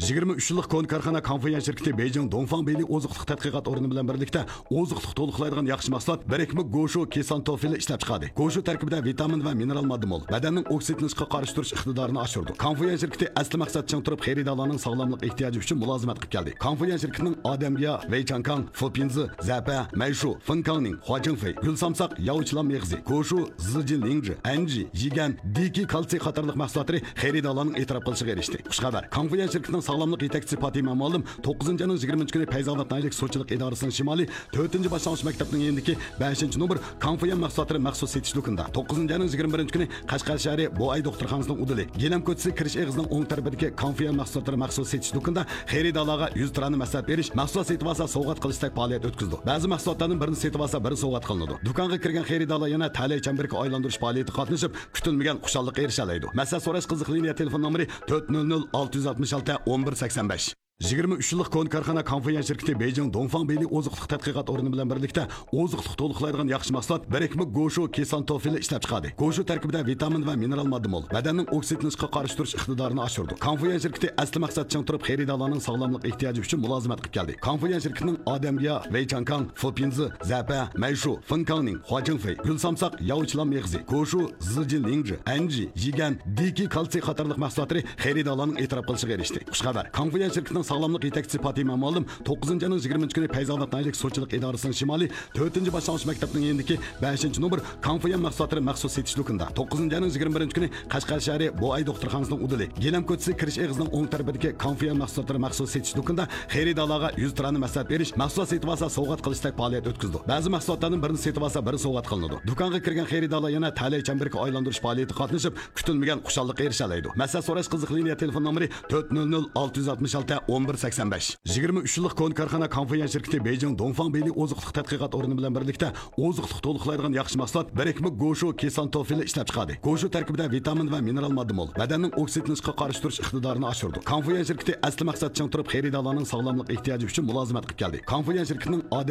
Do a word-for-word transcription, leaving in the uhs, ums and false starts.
يىگىرمە ئۈچ يىللىق كونا كارخانا كانفۇيۈەن شىركىتى بېيجىڭ دۇڭفاڭ بېيلى ئوزۇق-تۈلۈك تەتقىقات ئورنى بىلەن بىرلىكتە ئوزۇق-تۈلۈك تولۇقلايدىغان ياخشى مەھسۇلات بىرىكمە گوشۇ كېسان توفىلى ئىشلەپ چىقاردى. گوشۇ تەركىبىدە ۋىتامىن ۋە مىنېرال ماددا مول، بەدەننىڭ ئوكسىدلىنىشقا قارشى تۇرۇش ئىقتىدارىنى ئاشۇرىدۇ. كانفۇيۈەن شىركىتى ئەسلى مەقسەتتە چىڭ تۇرۇپ، خېرىدارلارنىڭ ساغلاملىق ئېھتىياجى ئۈچۈن مۇلازىمەت قىلىپ كەلدى. كانفۇيۈەن شىركىتىنىڭ ئادەمگىيا، ۋېيچاڭكاڭ، فۇپىنزى، زەپە، مەيشۇ، فېنكاڭنىڭ، خۇاجىڭفېي، گۈلسامساق، ياۋچىلام مېغىزى، گوشۇ، زىجىنلىڭجى، ئەنجى، يىگەن، دىكى كالتسىي قاتارلىق مەھسۇلاتلىرى خېرىدارلارنىڭ ئېتىراپ قىلىشىغا ئېرىشتى. خۇشخەۋەر! كانفۇيۈەن شىركىتىنىڭ ساغلاملىق يېتەكچىسى پاتىمە مۇئەللىم توققۇزىنچى ئاينىڭ يىگىرمىنچى كۈنى پەيزى ئاباد ناھىيەلىك سۇچىلىق ئىدارىسىنىڭ شىمالىي تۆتىنچى باشلانغۇچ مەكتەپنىڭ يېنىدىكى بەشىنچى نومۇر كانفۇيۈەن مەھسۇلاتلىرى مەخسۇس سېتىش دۇكىنىدا، توققۇزىنچى ئاينىڭ يىگىرمە بىرىنچى كۈنى قەشقەر شەھىرى بوئاي دوختۇرخانىسىنىڭ ئۇدۇلى، گىلەم كوچىسى كىرىش ئېغىزىنىڭ ئوڭ تەرىپىدىكى كانفۇيۈەن مەھسۇلاتلىرى مەخسۇس سېتىش دۇكىنىدا خېرىدارلارغا يۈز تۇرانى مەسلىھەت بېرىش، مەھسۇلات سېتىۋالسا سوۋغات قىلىشتەك پائالىيەت ئۆتكۈزىدۇ. بەزى مەھسۇلاتلاردىن بىرنى سېتىۋالسا، بىرى سوۋغات قىلىنىدۇ. دۇكانغا كىرگەن خېرىدارلار يەنە تەلەي چەمبىرىكى ئايلاندۇرۇش پائالىيىتىگە قاتنىشىپ، كۈتۈلمىگەن خۇشاللىققا ئېرىشەلەيدۇ. مەسلىھەت سوراش قىزىق لىنىيە تېلېفون نومۇرى تۆت نۆل نۆل ئالتە يۈز ئاتمىش ئالتە ئون بىر سەكسەن بەش. يىگىرمە ئۈچ يىللىق كونا كارخانا كانفۇيۈەن شىركىتى بېيجىڭ دۇڭفاڭ بېيلى ئوزۇق-تۈلۈك تەتقىقات ئورنى بىلەن بىرلىكتە ئوزۇق-تۈلۈك تولۇقلايدىغان ياخشى مەھسۇلات بىرىكمە گوشۇ كېسان توفىلى ئىشلەپ چىقاردى. گوشۇ تەركىبىدە ۋىتامىن ۋە مىنېرال ماددا مول، بەدەننىڭ ئوكسىدلىنىشقا قارشى تۇرۇش ئىقتىدارىنى ئاشۇرىدۇ. كانفۇيۈەن شىركىتى ئەسلى مەقسەتتە چىڭ تۇرۇپ، خېرىدارلارنىڭ ساغلاملىق ئېھتىياجى ئۈچۈن مۇلازىمەت قىلىپ كەلدى. كانفۇيۈەن شىركىتىنىڭ ئادەمگىيا، ۋېيچاڭكاڭ، فۇپىنزى، زەپە، مەيشۇ، فېنكاڭنىڭ، خۇاجىڭفېي، گۈلسامساق، ياۋچىلام مېغىزى، گوشۇ، زىجىنلىڭجى، ئەنجى، يىگەن، دىكى كالتسىي قاتارلىق مەھسۇلاتلىرى خېرىدارلارنىڭ ئېتىراپ قىلىشىغا ئېرىشتى. خۇشخەۋەر! كانفۇيۈەن شىركىتىنىڭ ساغلاملىق يېتەكچىسى پاتىمە مۇئەللىم توققۇزىنچى ئاينىڭ يىگىرمىنچى كۈنى پەيزى ئاباد ناھىيەلىك سۇچىلىق ئىدارىسىنىڭ شىمالىي تۆتىنچى باشلانغۇچ مەكتەپنىڭ يېنىدىكى بەشىنچى نومۇر كانفۇيۈەن مەھسۇلاتلىرى مەخسۇس سېتىش دۇكىنىدا، توققۇزىنچى ئاينىڭ يىگىرمە بىرىنچى كۈنى قەشقەر شەھىرى بوئاي دوختۇرخانىسىنىڭ ئۇدۇلى، گىلەم كوچىسى كىرىش ئېغىزىنىڭ ئوڭ تەرىپىدىكى كانفۇيۈەن مەھسۇلاتلىرى مەخسۇس سېتىش دۇكىنىدا خېرىدارلارغا يۈز تۇرانى مەسلىھەت بېرىش، مەھسۇلات سېتىۋالسا سوۋغات قىلىشتەك پائالىيەت ئۆتكۈزىدۇ. بەزى مەھسۇلاتلاردىن بىرنى سېتىۋالسا، بىرى سوۋغات قىلىنىدۇ. دۇكانغا كىرگەن خېرىدارلار يەنە تەلەي چەمبىرىكى ئايلاندۇرۇش پائالىيىتىگە قاتنىشىپ، كۈتۈلمىگەن خۇشاللىققا ئېرىشەلەيدۇ. مەسلىھەت سوراش قىزىق لىنىيە تېلېفون نومۇرى تۆت نۆل نۆل ئالتە يۈز ئاتمىش ئالتە ئون بىر سەكسەن بەش. يىگىرمە ئۈچ يىللىق كونا كارخانا كانفۇيۈەن شىركىتى بېيجىڭ دۇڭفاڭ بېيلى ئوزۇق-تۈلۈك تەتقىقات ئورنى بىلەن بىرلىكتە ئوزۇق-تۈلۈك تولۇقلايدىغان ياخشى مەھسۇلات بىرىكمە گوشۇ كېسان توفىلى ئىشلەپ چىقاردى. گوشۇ تەركىبىدە ۋىتامىن ۋە مىنېرال ماددا مول، بەدەننىڭ ئوكسىدلىنىشقا قارشى تۇرۇش ئىقتىدارىنى ئاشۇرىدۇ. كانفۇيۈەن شىركىتى ئەسلى مەقسەتتە چىڭ تۇرۇپ، خېرىدارلارنىڭ ساغلاملىق ئېھتىياجى ئۈچۈن مۇلازىمەت قىلىپ كەلدى. كانفۇيۈەن شىركىتىنىڭ ئادەم